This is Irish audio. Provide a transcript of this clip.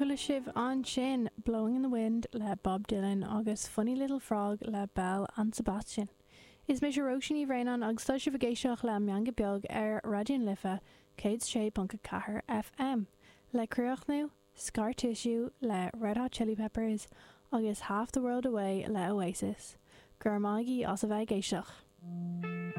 Chuala sibh ansin Blowing in the Wind le Bob Dylan agus Funny Little Frog le Belle and Sebastian. Is mise Róisín Ní Bhraonáin agus tá sibh ag éisteacht le An Meangadh Beag ar Raidió na Life 106.4 FM. Le críochnú, Scar Tissue le Red Hot Chili Peppers agus Half the World Away le Oasis. Go raibh maith agaibh as a bheith ag éisteacht.